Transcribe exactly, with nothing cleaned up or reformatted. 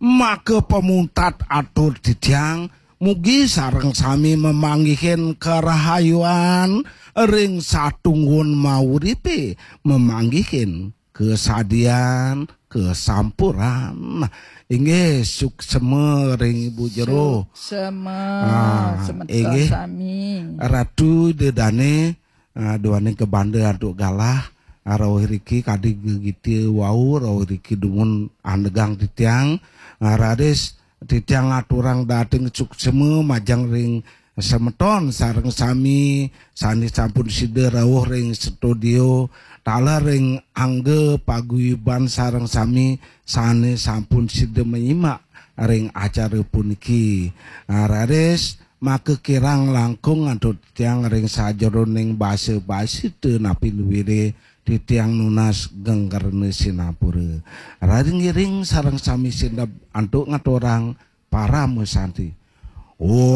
Maka pamuntat atur titiang, mugi sareng sami mamanggihin karahayuan ring satunggun mauripe, mamanggihin kasadian, kasampuran. Inggih, suksema ring Ibu Jero. Suksema, ah, semeton inggih sami. Ratu Ida Dane, ah, duaning kabanda antuk galah, ah, rauh riki kadi gegita wau, rauh riki dumun andegang titiang, ah, raris titiang aturang dahating suksema majeng ring semeton sareng sami sane sampun sida rauh ring studio, taler ring angga paguyuban sareng sami sane sampun sida manyimak ring acara puniki. Ah, raris maka kirang langkung antuk titiang ring sajeroning basa-basi ta napi luire titiang nunas geng karena sinapura. Raris ngiring sareng sami sindep antuk ngaturang parama santi. Om